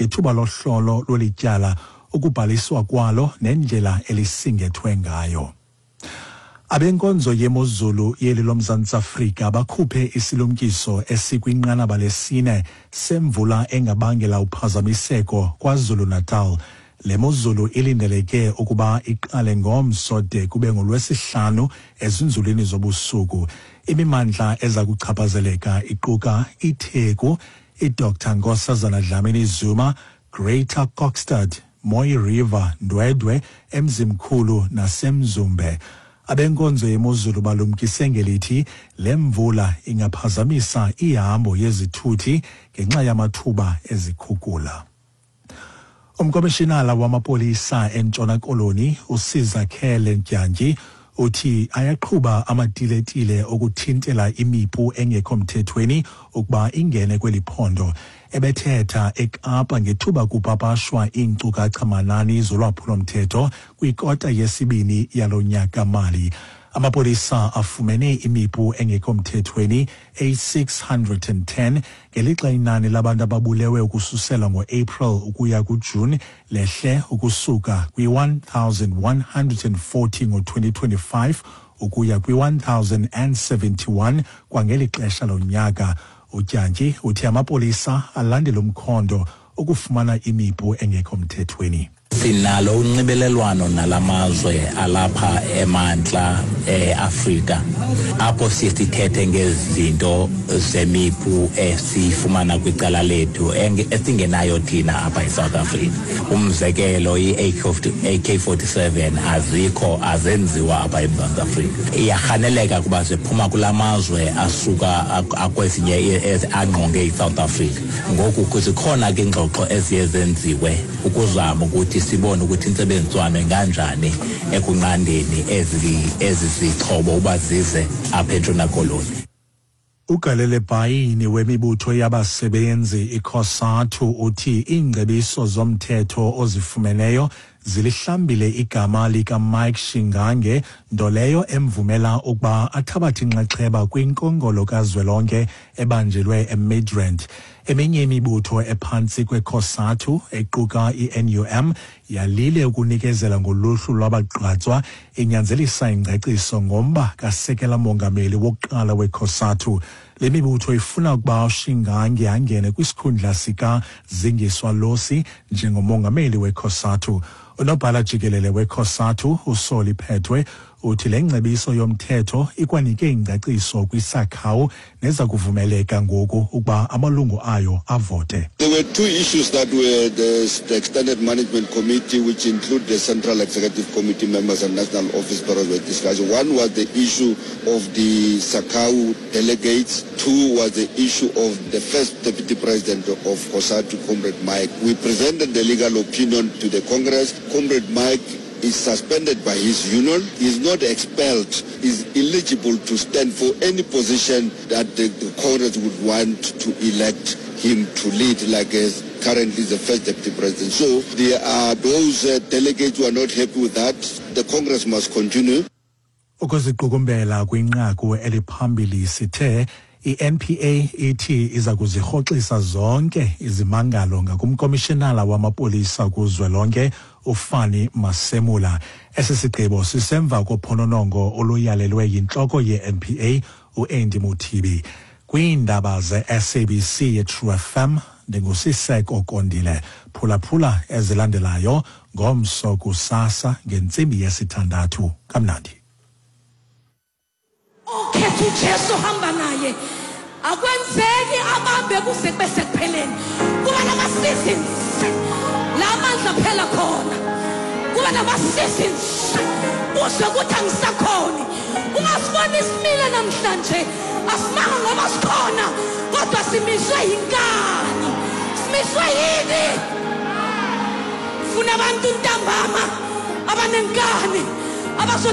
ngethuba lohlolo lweli tyala, ukubhaliswa kwalo nendlela elisingethwe ngayo. Abenkonzo yemozulu yeli loMzantsi Afrika bakhuphe isilumkiso esikwinqanaba lesine semvula engabangela uphazamiseko KwaZulu-Natal. Le mozulu ilindeleke ukuba iqale ngomso de kube ngoLwesihlanu ezinzulwini zobusuku. Imimandla eza kuchaphazeleka iquka iTheku, iDr Nkosazana Dlamini Zuma, Greater Kokstad, Mooi River, Ndwedwe, eMzimkhulu naseMzumbe. Abenkonzo yemozulu balumkise ngelithi le mvula ingaphazamisa ihambo yezithuthi ngenxa yamathuba ezikhukula. Umkomishinala wamapolisa eNtshona Koloni uSizakhele Ndyantyi uthi ayaqhuba amatiletile okuthintela imipu engekho mthethweni ukuba ingene kweli phondo. Ebethetha eKapa ngethuba kupapashwa iinkcukacha-manani zolwaphulo-mthetho kwikota yesibini yalo nyaka-mali. Amapolisa afumene imipu engekho mthethweni eyi-610 ngelixa inani labantu ababulewe ukususela ngo-April ukuya kuJuni lehle ukusuka kwi-1140 ngo-2025 ukuya kwi-1071 kwangeli xesha lonyaka. UDyantyi uthi amapolisa alandela umkhondo ukufumana imipu engekho mthethweni. Sinalo unxibelelwano nalamazwe alapha emantla eAfrika, apho siye sithethe ngezinto zemipu esiyifumana kwicala lethu esingenayo thina apha eSouth Africa. Umzekelo, i-AK-47 azikho, azenziwa apha eMzantsi Afrika. Iyarhaneleka kuba ziphuma kula mazwe asuka akwezinye angqonge iSouth Africa. Ngoku zikhona ke iingxoxo eziye zenziwe ukuzama ukuthi sibone ukuthi intsebenziswano inganjani ekunqandeni ezi zixhobo uba zize apha eNtshona Koloni. Ugalele bhayini wemibutho yabasebenzi iCOSATU uthi iingcebiso zomthetho ozifumeneyo zilihlambile igama likaMike Shingange, nto leyo emvumela ukuba athabathe inxaxheba kwinkongolo kazwelonke ebanjelwe eMidrand. Eminye imibutho ephantsi kweCOSATU equka iNUM yalile ukunikezela ngoluhlu lwabagqatswa, inyanzelisa ingcaciso ngomba kasekela mongameli wokuqala weCOSATU. Le mibutho ifuna ukuba uShingange angene kwisikhundla sikaZingiswa Losi njengomongameli weCOSATU. Unobhala jikelele weCOSATU uSolly Phetoe uthi le ngcebiso yomthetho ikwanike ingcaciso kwisakhawu neza kuvumeleka ngoku ukuba amalungu ayo avote. There were two issues that were the extended management committee, which include the Central Executive Committee members and national office bearers, were discussing. One was the issue of the SACCAWU delegates. Two was the issue of the first deputy president of COSATU, Comrade Mike. We presented the legal opinion to the Congress. Comrade Mike is suspended by his union. He is not expelled. He is eligible to stand for any position that the Congress would want to elect him to lead, like as currently the first deputy president. So there are those delegates who are not happy with that. The Congress must continue. Ukuziqukumbela kwinqaku eliphambili, sithe i-NPA ithi iza kuzirhoxisa zonke izimangalo ngakumkomishinala wamapolisa kuzwelonke uFani Masemola. Esi sigqibo sisemva kophononongo oluyalelwe yintloko ye-NPA uAndy Mothibi. Kwiindaba ze-SABC yeTrue FM, ndinguSiseko Kondile. Phulaphula ezilandelayo ngomso kusasa ngentsimbi yesithandathu. Kamnandi. Okhetha uJesu hamba naye, akwenzeki abambe kuze kube sekupheleni. Kuba nama-seasons la mandla phela khona, kuba nama-seasons uzwe ukuthi angisakhoni. Ungasibona isimile namhlanje, asimanga ngoba sikhona, kodwa simiswe yinkani. Simiswe yini? Funa abantu ntambama abanenkani abazothi